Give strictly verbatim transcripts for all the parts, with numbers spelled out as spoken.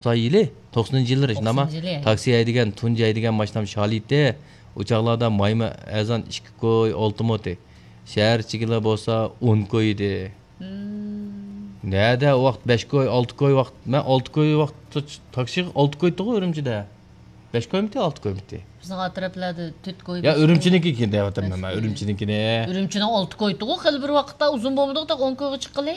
توقسان يىلى، توقسىنىنچى يىللىرى شۇنداقما؟ توقسىنىنچى يىلى. تاكسى ھەيدىگەن، تۇنجى ھەيدىگەن ماشىنام شالى ئىدى. ئۇ چاغلاردا مايمۇ ئەرزان ئىككى كوي ئالتە مو ئىدى. شەھەر ئىچىگىلا بولسا ئون كوي ئىدى. مم. نەدە ۋاقىت بەش كوي، ئالتە كوي ۋاقىت. مەن ئالتە كوي ۋاقىت تاكسىغا ئالتە كوي ئىدىغۇ ئۈرۈمچىدە. بەش كويمىتى، ئالتە كويمىتى؟ بىزنىڭ ئەتراپلاردا تۆت كوي، يا، بەش كوي. ئۈرۈمچىنىڭكى كېيىن دەۋاتىمەن مەن، بەش كوي. ئۈرۈمچىنىڭكىنى. ئۈرۈمچىنىڭ ئالتە كوي ئىدىغۇ خېلى بىر ۋاقىتتا، ئۇزۇن بولمىدىغۇ، تېخى ئون كويغا چىققىلى.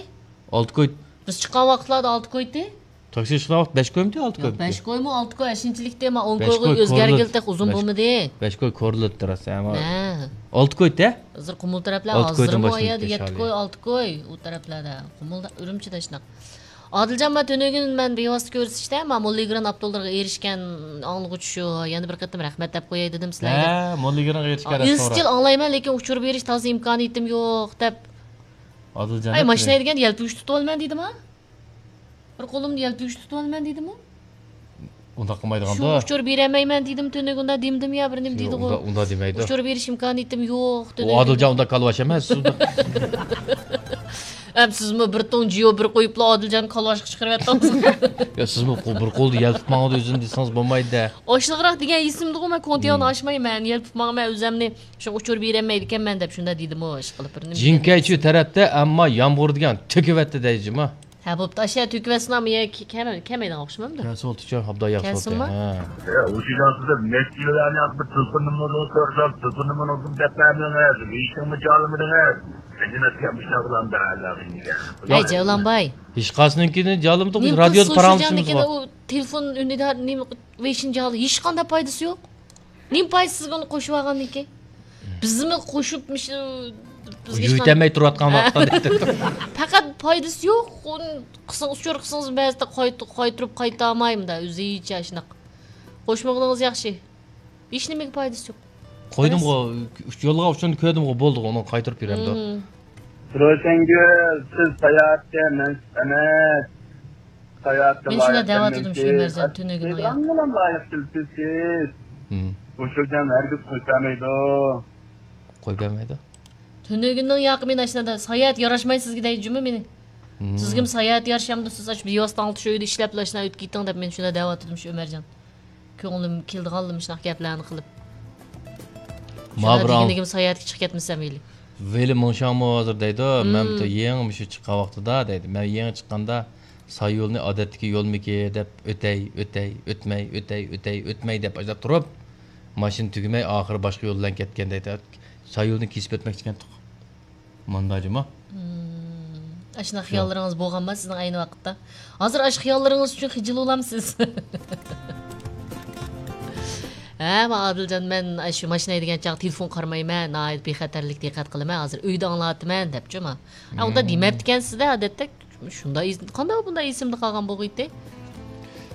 ئالتە كوي. بىز چىققان ۋاقىتلاردا ئالتە كوي ئىدى. تاكسىغا چىققان ۋاقىت بەش كويمىتى، ئالتە كويمىتى؟ بەش كويمۇ، ئالتە كوي ئەشۇنچىلىكتى، مەن ئون بەش كويغا كوي ئۆزگەرگىلى كورلىدى. تېخى ئۇزۇن بولمىدى. بەش كوي كورلىدى راست، ئەمما ھە. ئالتە كوي ئىدى. ھازىر قۇمۇل تەرەپلەر ئالتە كويدىن ھازىرمۇ ئۇ يەردە يەتتە كوي، ئالتە كوي ئۇ تەرەپلەردە. قۇمۇلدا، ئۈرۈمچىدە شۇنداق. ئادىلجان، مانا تۈنۈگۈن مەن بىۋاسىتە كۆرسىتىشتە، مانا موللىگران ئاپتوللىرىغا ئېرىشكەن ئاڭلىغۇچى شۇ، يەنە بىر قېتىم رەھمەت دەپ قوياي دېدىم سىلەرگە. ھە، موللىگرانغا ئېرىشكەن رەھمەت ئىزچىل ئاڭلايمەن، لېكىن ئۇچۇر بېرىش تازا ئىمكانىيىتىم يوق دەپ. ئادىلجان، ئاي، ماشىنا ھەيدىگەندە يەلپۈگۈچ تۇتۇۋالىمەن دېدىما؟ بىر قولۇمدا يەلپۈگۈچ تۇتۇۋالىمەن دېدىمۇ؟ ئۇنداق قىلمايدىغاندا. شۇ ئۇچۇر بېرەلمەيمەن دېدىم، تۈنۈگۈندە دېمىدىم يا، بىر نېمە دېدىغۇ. ئۇنداق، ئۇنداق دېمەيدۇ. ئۇچۇر بېرىش ئىمكانىيىتىم يوق، ئۇ ئادىلجان ئۇنداق كالۋاش ئەمەس. ئەم سىزمۇ بىر توڭ جىيو بىر قويۇپلا ئادىلجان كالۋاشقا چىقىرىۋەتتىڭىز. يا سىزمۇ قو-، بىر قولدا يەلپۈپ ماڭىدۇ ئۆزىنى دېسىڭىز بولمايدۇ-دە. ئاشلىقراق دېگەن ئېسىمدىغۇ، مەن كونتيانى ئاشمايمەن، يەلپۈپ ماڭىمەن ئۆزەمنى. شۇ ئۇچۇر بېرەلمەيدىكەنمەن دەپ شۇنداق دېدىمۇ، ئىشقىلىپ بىر نېمە دېگەن. جىنكەيچۈ تەرەپتە، ئەمما يامغۇر دېگەن تۆكۈۋەتتى دەيجىما. ھە، بوپتۇ، ئاشۇ تۆكۈۋەتسىلا، مېنىڭ كە-، كەمەي-، كەمەيدىغان ئوخشىمامدۇ؟ كەلسىۋالدى، چوڭ ئابدا ياخشى كەلسۇنمۇ؟ ھە. ھە، ئۇ شىجاڭسىزدا نەچچە يىل ئەنە بىر تېلېفون نومۇرىنى سورىسام، تېلېفون نومۇرىنى ئوقۇپ دەپ بەرمىدىڭىز، ھېچنېمە جاۋابلىمىدىڭىز. ئەجىنەتكە مۇشۇنداق بولامدا، ھەي، جەۋلانباي. ھېچقايسىنىڭكىنى جاۋابلىمىدۇق، بىز رادىيودا پاراڭلىشىمىز بار. تېلېفون ئۈنىدار نېمە ۋېشىنى جاۋاب، ھېچقانداق پايدىسى يوق. نېمە پايدىسى بۇنى قوشۇۋالغاندىن كېيىن؟ بىزمۇ قوشۇپ مۇشۇ بىزگە يۆتەلمەي تۇرۇۋاتقان ۋاقىتتا. پەقەت پايدىسى يوق. ئۇنى قىلسىڭىز، ئۇچۇر قىلسىڭىز، بەزىدە قايت-، قايتۇرۇپ قايتالمايمەن-دە، ئۆزىچە شۇنداق. قوشمىغىنىڭىز ياخشى. ھېچنېمىگە پايدىسى يوق. قويدۇمغۇ، يولغا ئۇچۇرنى كۆردۈمغۇ، بولدىغۇ، ئۇنى قايتۇرۇپ بېرەمدۇ. مم. روشەنگۈل، سىز ساياھەتكە مەنسۇپ ئەمەس. ساياھەتكە مەن شۇنداق دەۋاتىدىم شۇ ئۆمەرجان تۈنۈگۈن ئاياغ. لايىق كېلىپسىز. مم. بۇ سۆزلەرنى ھەرگىز قويۇپ بەرمەيدۇ. قويۇپ بەرمەيدۇ. تۈنۈگۈننىڭ ياقى مېنى ئاشۇنداق ساياھەت ياراشمايدۇ سىزگە دەيدۇ جۇمۇ مېنى. مم. سىزگىمۇ ساياھەت يارىشامدۇ، سىز ئاشۇ بىۋاسىتە ئاڭلىتىش ئۆيىدە ئىشلەپلا ئاشۇنداق ئۆتۈپ كېتىڭ دەپ مەن شۇنداق دەۋاتىدىم شۇ ئۆمەرجان. كۆڭلۈم كېلىدىغانلا مۇشۇنداق گەپلەرنى قىلىپ. ما شۇنداق بىر ئاڭ-، دېگىنىگىم ساياھەتكە چىقىپ كەتمىسەم ھېلى. ۋېلى مىڭشاڭمۇ ھازىر دەيدۇ، مم. مەن بۇ يېڭى مۇشۇ چىققان ۋاقتىدا دەيدۇ، مەن يېڭى چىققاندا سايولنى ئادەتتىكى يولمىكى دەپ ئۆتەي، ئۆتەي، ئۆتمەي، ئۆتەي، ئۆتەي، ئۆتمەي دەپ ئاشۇنداق تۇرۇپ، ماشىنا تۈگىمەي ئاخىرى باشقا يول بىلەن كەتكەن دەيدۇ. سايولنى كېسىپ ئۆتمەكچىكەنتۇق. ماندا جۇمۇ. مم. ئاشۇنداق خىياللىرىڭىز بولغانما سىزنىڭ ئەينى ۋاقىتتا؟ ھازىر ئاشۇ خىياللىرىڭىز ئۈچۈن خىجىل بولامسىز؟ ھە، ما ئادىلجان، مەن ئاشۇ ماشىنا ھەيدىگەن چاغ تېلېفون قارىمايمەن، ناھايىتى بىخەتەرلىك دىققەت قىلىمەن، ھازىر ئۆيدە ئاڭلاۋاتىمەن دەپچۇ ما. ھە، ئۇنداق دېمەپتىكەنسىز-دە، ئادەتتە شۇنداق ئېس-، قانداق بۇنداق ئېسىمدە قالغان بولغىيتى؟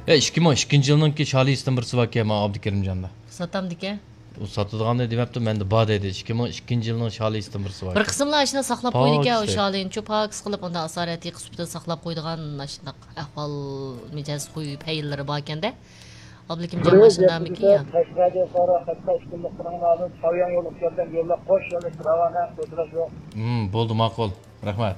ئە، ئىككى مىڭ ئىككىنچى يىلنىڭكى شالى ئىستىن بىرسى باركەن، ما ئابدۇكېرىمجاندا. ساتامدىكەن؟ ئۇ ساتىدىغاننى دېمەپتۇ، مەندە بار دەيدۇ. ئىككى مىڭ ئىككىنچى يىلنىڭ شالى ئىستىن بىرسى بار. بىر قىسىملار ئاشۇنداق ساقلاپ قويىدىكەن ئۇ شالىنى، چۇ پاكىز قىلىپ، ئۇنداق ئاسارەتىي قىسمىتىدا ساقلاپ قويىدىغان ئاشۇنداق ئەھۋال مىجەز خۇي پەيلىرى باركەندە. ئابلىكىمجان ماشىنىدامىكىن يا؟ قەشقەردىن سارا خەتتا ئىككى كۈنلۈك قىرىڭلارنى چاۋيان يوللۇق كەلگەن يوللار قوش يوللۇق راۋانە كۆتۈرۈش يوق. ھىم، بولدى، ماقۇل. رەھمەت.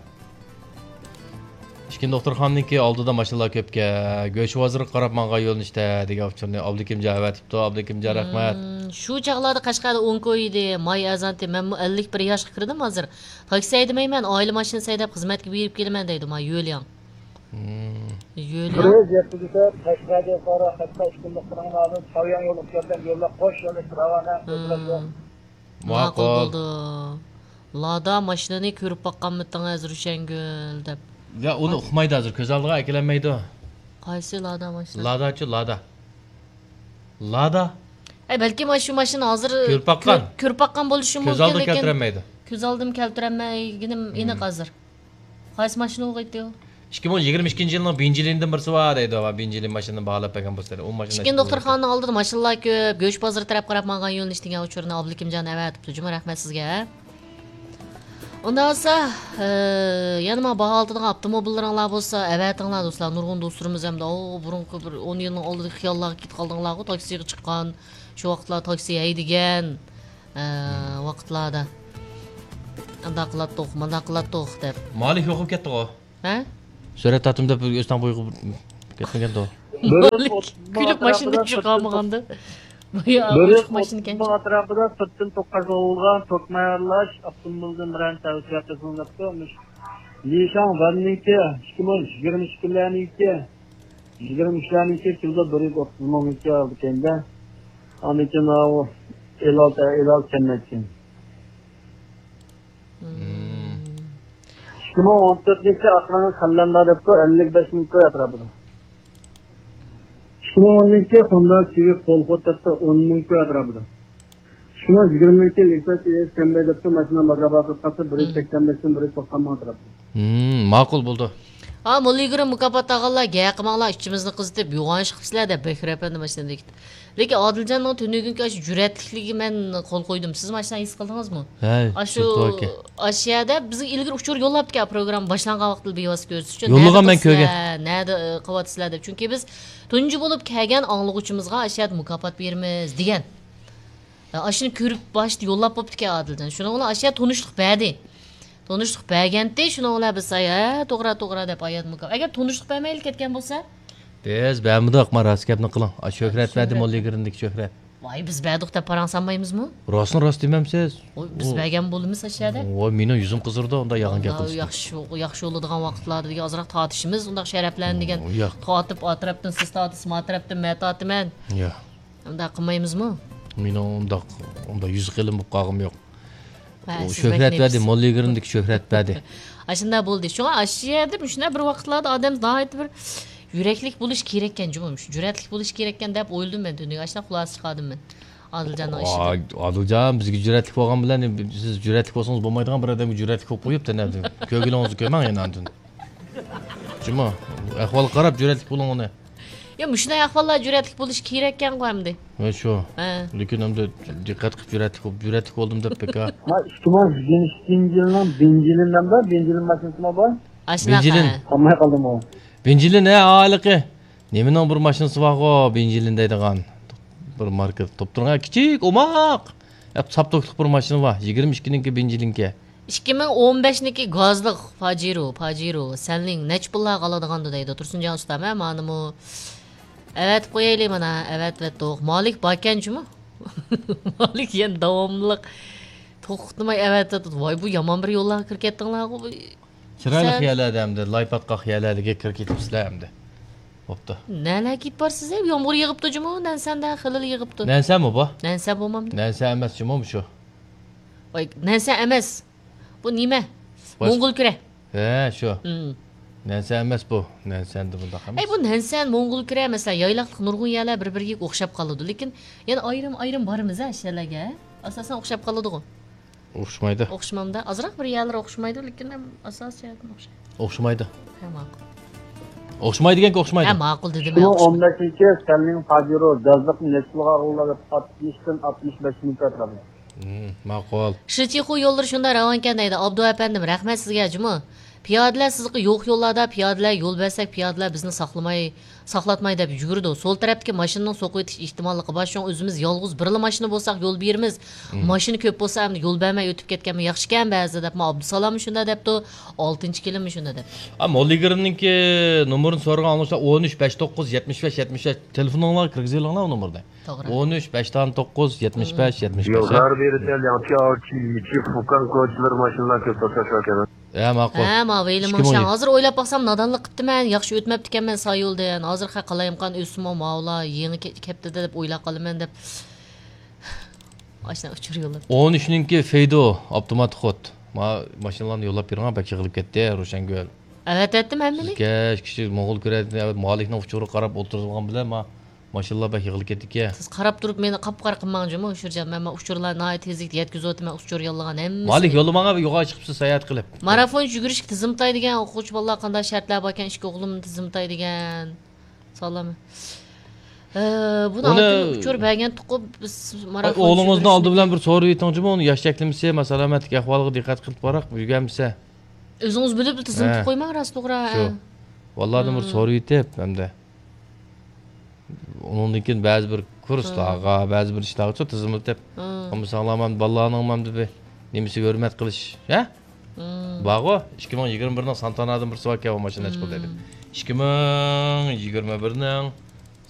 ئىككىنچى دوختۇرخانىنىڭكى ئالدىدا ماشىنىلار كۆپكەن. گۆش بازىرىغا قاراپ ماڭغان يۆنىلىشتە دېگەن ئۇچۇرنى ئابلىكىمجان ئەۋەتىپتۇ. ئابلىكىمجان، رەھمەت. مم، شۇ چاغلاردا قەشقەردە ئون كوي ئىدى، ماي ئەرزانتى. مەنمۇ ئەللىك بىر ياشقا كىردىم ھازىر. تاكسى ھەيدىمەيمەن، ئائىلە ماشىنىسى ھەيدەپ خىزمەتكە بېرىپ كېلىمەن دەيدۇ، ماي يۆلياڭ. مم. يۆلياڭ. بىر يەتتە قەشقەردىن سارا خەتتا ئىككى كۈنلۈك قىرىڭلارنى چاۋيان يوللۇق كەلگەن يوللار قوش يوللۇق راۋانە كۆتۈرۈش يوق. مم. ماقۇل. ماقۇل بولدى. لادا ماشىنىنى كۆرۈپ باققانمىتىڭىز، روشەنگۈل دەپ. يا، ئۇنى ئۇقمايدۇ ھازىر، كۆز ئالدىغا ئەكېلەلمەيدۇ. قايسى لادا ماشىنا؟ لاداچۇ، لادا. لادا. ئەي، بەلكىم شۇ ماشىنا ھازىر كۆرۈپ باققان. كۆر-، كۆرۈپ باققان بولۇشى مۇمكىن، لېكىن كۆز ئالدىغا كەلتۈرەلمەيدۇ. كۆز ئالدىمغا كەلتۈرەلمەيگىنىم ئېنىق ھازىر. قايسى ماشىنا بولغىيتتى ئۇ؟ ئىككى مىڭ يىگىرمە ئىككىنچى يىلنىڭ بېنزىنىدىن بىرسى بار دەيدۇ، بېنزىن ماشىنىنى باھالاپ بەرگەن بولسا. ئۇ ماشىنا ئىككىنچى دوختۇرخانىنىڭ ئالدىدا ماشىنىلار كۆپ، گۆش بازىرى تەرەپ قاراپ ماڭغان يۆنىلىش دېگەن ئۇچۇرنى ئابلىكىمجان ئەۋەتىپتۇ جۇمۇ، رەھمەت سىزگە. ئۇنداق بولسا، ئە، يەنە ماڭا باھا ئالتىدىغان ئاپتوموبىللىرىڭلار بولسا ئەۋەتىڭلار دوستلار، نۇرغۇن دوستلىرىمىز ھەمدە ئاۋۇ بۇرۇنقى بىر ئون يىلنىڭ ئالدىدىكى خىياللارغا كېتىپ قالدىڭلارغۇ، تاكسىغا چىققان، شۇ ۋاقىتلار تاكسى ھەيدىگەن، ئە، ۋاقىتلاردا ئانداق قىلاتتۇق، مانداق قىلاتتۇق دەپ. مالىك يوقاپ كەتتىغۇ. ھە؟ سۈرەت تارتىم دەپ ئۆستەڭ بويىغا كەتمىگەندۇ. بىر يۈز ئوتتۇز مىڭ كۈلۈپ ماشىنىدىن ئاتراپىدا چۈشۈپ سىرتتىن قالمىغاندا. بۇ يا، بىر يۈز ئوتتۇز مىڭ ئاتراپىدا سىرتتىن توك قازغان بولغان، توك مايارلاش، ئاپتوموبىلدىن بىرەر تەۋسىيە قىلسىڭىز دەپتۇ. مۇش لىشاڭ ۋەننىڭكى ئىككى مىڭ يىگىرمە ئىككىلەرنىڭكى، يىگىرمە ئۈچلەرنىڭكى كىلودا بىر يۈز ئوتتۇز مىڭ ئالىدىكەن-دە. ئاندىن كېيىن ئاۋۇ ئېلال، ئېلال كەلمەيدىكەن. مم. ئىككى مىڭ ئون تۆتىنچى ئاخىرىنى خەنلەندە دەپتۇ، ئەللىك بەش مىڭ كوي ئەتراپىدا. ئىككى مىڭ ئونىنچى خوندا سىۋىك قول خوت دەپتۇ، ئون مىڭ كوي ئەتراپىدا. ئىككى مىڭ يىگىرمىنچى لېكساس ئىس كەمبەي دەپتۇ، ماشىنا بازار باھاسى قاتتى، بىر يۈز سەكسەن بەشتىن بىر يۈز توقسان مىڭ ئەتراپىدا. مم، ماقۇل بولدى. ھا، موللا يىگىرمە مۇكاپات ئالغانلار، گەپ قىلماڭلار، ئىچىمىزنى قىزىتىپ، يوغان ئىش قىپسىلەر دەپ بەكرى ئەپەندى ماشىنىدىن كېتىپ. لېكىن ئادىلجاننىڭ تۈنۈگۈنكى ئاشۇ جۈرئەتلىكلىكىگە مەن قول قويدۇم. سىز ماشىنا ھېس قىلدىڭىزمۇ؟ ھەي، ئاشۇ، سىرتتا ئىكەن. ئاشۇ يەردە بىزگە ئىلگىرى ئۇچۇر يوللاپتىكەن، پروگرامما باشلانغان ۋاقىتتا بىۋاسىتە كۆرسىتىش ئۈچۈن. يوللىغان مەن كۆرگەن. نەدە قىلىسىلەر، نەدە، ئى، قىلىۋاتىسىلەر دەپ. چۈنكى بىز تۇنجى بولۇپ كەلگەن ئاڭلىغۇچىمىزغا ئاشۇ يەردە مۇكاپات بېرىمىز دېگەن. ئاشۇنى كۆرۈپ باشتا يوللاپ بوپتىكەن ئادىلجان. شۇنىڭ بىلەن ئاشۇ يەردە تونۇشلۇق بەردى. تونۇشلۇق بەرگەنتى، شۇنىڭ بىلەن بىز، ھە، توغرا، توغرا دەپ ئايات مۇكا-، ئەگەر تونۇشلۇق بەرمەيلا كەتكەن بولسا؟ بىز بەرمىدۇق، ما راست گەپنى قىلىڭ. ئا، شۆھرەت بەردى، شۆھرەت. موللا يىگىرمىدىكى شۆھرەت. ۋاي، بىز بەردۇق دەپ پاراڭ سالمايمىزمۇ؟ راستنى راست دېمەمسىز؟ ۋاي، بىز بەرگەن بولىمىز ئاشۇ يەردە. ۋاي، مېنىڭ يۈزۈم قىزىرىدۇ، ئۇنداق يالغان گەپ قىلسا. ياخشى، ياخشى بولىدىغان ۋاقىتلاردا دېگەن ئازراق تارتىشىمىز، ئۇنداق شەرەپلەرنى دېگەن. ۋاي، ياق. تارتىپ، ئا تەرەپتىن سىز تارتىسىز، ما تەرەپتىن مەن تارتىمەن. ياق. ئۇنداق قىلمايمىزمۇ؟ مېنىڭ ئۇنداق، ئۇنداق يۈز قېلىم بولۇپ قالغۇم يوق. ھە، ئۇ سىز شۆھرەت بەك بەردى، نېپىز. موللا يىگىرمىدىكى شۆھرەت بەردى. ئاشۇنداق بولدى. شۇڭا ئاشۇ يەردە مۇشۇنداق بىر ۋاقىتلاردا ئادەم ناھايىتى بىر يۈرەكلىك بولۇش كېرەككەن جۇمۇ. مۇشۇ جۈرئەتلىك بولۇش كېرەككەن دەپ ئويلىدىم مەن تۈنۈگۈن. ئاشۇنداق خۇلاسە چىقاردىم مەن ئادىلجاننىڭ ئىشىدىن. ئا-، ئادىلجان، بىزگە جۈرئەتلىك بولغان بىلەن، سىز جۈرئەتلىك بولسىڭىز بولمايدىغان بىر ئادەمگە جۈرئەتلىك بولۇپ قويۇپتۇ، نەدە؟ كۆرگىنىڭىزنى كۆرمەڭ يەنە ئاندىن. جۇمۇ، ئەھۋالغا قاراپ جۈرئەتلىك بولۇڭ ئۇنى. يا، مۇشۇنداق ئەھۋاللار جۈرئەتلىك بولۇشى كېرەككەنغۇ ئەمدى. ھە، شۇ. ھە. لېكىن ئەمدى دىققەت قىلىپ جۈرئەتلىك بولۇپ، جۈرئەتلىك بولدۇم دەپ بەك ھە. ما ئىككى مىڭ يىگىرمە ئىككىنچى يىلنىڭ بېنزىنى نەمدە، بېنزىن ماشىنىسىمۇ بار. ئاشۇنداق، بېنزىن. ھە. قالماي قالدىمۇ. بېنزىن ھە، ھېلىقى. نېمىنىڭ بىر ماشىنىسى بارغۇ، بېنزىن دەيدىغان. بىر ماركا توپتۇرغان، كىچىك، ئوماق. ساپتوكلۇق بىر ماشىنا بار. يىگىرمە ئىككىنىڭكى بېنزىنكى. ئىككى مىڭ ئون بەشنىڭكى گازلىق پاجېرو، پاجېرو، سەنلىڭ نەچچە پۇللارغا ئالىدىغاندۇ دەيدۇ تۇرسۇنجان ئۇستا، مە مانىمۇ. ئەۋەتىپ قويايلى مانا، ئەۋەتىۋەتتۇق. مالىك باركەن جۇمۇ. مالىك يەنە داۋاملىق توختىماي ئەۋەتىۋەتىدۇ. ۋاي، بۇ يامان بىر يوللارغا كىرىپ كەتتىڭلارغۇ. چىرايلىق يەرلەردە ئەمدى، لاي پاتقاق يەرلەرگە كىرىپ كېتىپسىلەر ئەمدى. بوپتۇ. نەلەرگە كېتىپ بارسىز، ھە؟ يامغۇر يېغىپتۇ جۇمۇ، نەنسەندە خېلىلا يېغىپتۇ. نەنسەنمۇ بۇ؟ نەنسەن بولمامدۇ؟ نەنسەن ئەمەس جۇمۇ شۇ. ۋاي، نەنسەن ئەمەس. بۇ نېمە؟ باش- موڭغۇل كۈرە. ھە، شۇ. مم. نەنسەن ئەمەس بۇ. نەنسەندە بۇنداق ئەمەس. ئەي، بۇ نەنسەن، موڭغۇل كۈرە، مەسىلەن، يايلاقلىق نۇرغۇن يەرلەر بىر-بىرىگە ئوخشاپ قالىدۇ. لېكىن يەنە ئايرىم-ئايرىم بارىمىز، ھە، شەلەرگە. ئاساسەن ئوخشاپ قالىدىغۇ. ئوخشىمايدۇ. ئوخشىمامدا. ئازراق بىر يەرلىرى ئوخشىمايدۇ، لېكىن ئاساسىي جەھەتتىن ئوخشايدۇ. ئوخشىمايدۇ. ھە، ماقۇل. ئوخشىمايدۇ دېگەنكى ئوخشىمايدۇ. ھە، ماقۇل دېدىم، ھە، ئوخشىمايدۇ. ئىككى مىڭ ئون بەشىنچى سەنلىڭ پاجېرو گازلىق نەچچە پۇلغا ئالغانلار دەپ ئاتمىشتىن ئاتمىش بەش مىڭ ئەتراپىدا. ھىم، ماقۇل. شىچىخۇ يوللىرى شۇنداق راۋانكەن دەيدۇ. ئابدۇ ئەپەندىم، رەھمەت سىزگە جۇمۇ. پىيادىلەر سىزلىقى يوق يوللاردا، پىيادىلەر يول بەرسەك، پىيادىلەر بىزنى ساقلىماي، ساقلاتماي دەپ يۈگۈرىدۇ. سول تەرەپتىكى ماشىنىنىڭ سوقۇۋېتىش ئېھتىماللىقى بار. شۇڭا ئۆزىمىز يالغۇز بىرلا ماشىنا بولساق يول بېرىمىز. مم. ماشىنا كۆپ بولسا ئەمدى يول بەرمەي ئۆتۈپ كەتكەنمۇ ياخشىكەن بەزىدە دەپمۇ ئابدۇسالاممۇ شۇنداق دەپتۇ. ئالتىنچى كېلىنمۇ شۇنداق دەپتۇ. ئا، موللا يىگىرمىنىڭكى نومۇرىنى سورىغان ئاڭلىغۇچىلار ئون ئۈچ بەش توققۇز يەتمىش بەش يەتمىش بەش تېلېفونۇڭلارغا كىرگۈزۈۋېلىڭلار ئۇ نومۇرنى. توغرا. ئون ئۈچ بەش توققۇز يەتمىش بەش يەتمىش بەش. يوللار بېرىدىن ياڭچى ئاۋچى يىچى فۇكان كوچىلىرى ماشىنىلار كۆپ توختاش ئىكەن. ھە، ماقۇل. ھە، ماۋۇ ھېلى ئىككى مىڭ مۇشۇ. ھازىر ئويلاپ باقسام، نادانلىق قىپتىمەن، ياخشى ئۆتمەپتىكەنمەن سايولدىن. ھازىر خە قالايمىقان ئۆتسىمۇ، ماۋۇلار يېڭى كە-، كەپتىدە دەپ ئويلاپ قالىمەن دەپ. ئاشۇنداق ئۇچۇر يوللاپ. ئون ئۈچنىڭكى فېيدو ئاپتومات خود. ما ماشىنىلارنى يوللاپ بېرىڭ، بەك يىغىلىپ كەتتى روشەنگۈل. ئەۋەتەتتىم ھەممىنى. كەچ كىشى موڭغۇل كۈرەدىن ئەۋەت مالىكنىڭ ئۇچۇرىغا قاراپ ئولتۇرغان بىلەن ما ماشىنىلار بەك يىغىلىپ كەتتىكەن. سىز قاراپ تۇرۇپ مېنى قاپقارا قىلماڭ جۇمۇ، ئۇچۇرجان. مەن، مەن ئۇچۇرلار ناھايىتى تېزلىكتە يەتكۈزۈۋاتىمەن، ئۇچۇر يوللىغان ھەممىسىنى. مالىك يوللىماڭا بىر يوغان چىقىپسىز ساياھەت قىلىپ. مارافون يۈگۈرۈشكە تىزىملىتاي دېگەن، ئوقۇغۇچى بالىلار قانداق شەرتلەر باركەن، ئىككى ئوغلۇمنى تىزىملىتاي دېگەن. سالام. ئە، بۇنى ئۇنى ئالدىن ئۇچۇر بەرگەنتۇققۇ بىز مارافون ئوغلىڭىزنى يۈگۈرۈشنى. ئالدى بىلەن بىر سورىۋېتىڭ جۇمۇ، ئۇنى ياش چەكلىمىسى، ما سالامەتلىك ئەھۋالىغا دىققەت قىلىپ باراق، يۈگەنمىسە. ئۆزىڭىز بىلىپ تىزىملىتىپ ھە. قويماڭ، راست توغرا. شۇ. ھە. بالىلاردىن بىر ھە. سورىۋېتىپ، ئەمدى. ئۇنىڭدىن كېيىن بەزى بىر كۇرسلارغا، ھە. بەزى بىر ئىشلارغىچۇ تىزىملىتىپ، ھە. بولمىساڭلار مەن بالىلارنىڭ مەن بىر نېمىسىگە ھۆرمەت قىلىش، ھە؟ ھە. بارغۇ، ئىككى مىڭ يىگىرمە بىرنىڭ سانتانادىن بىرسى باركەن، ئۇ ماشىنا نەچچە پۇل دەيدۇ. ھە. ئىككى مىڭ يىگىرمە بىرنىڭ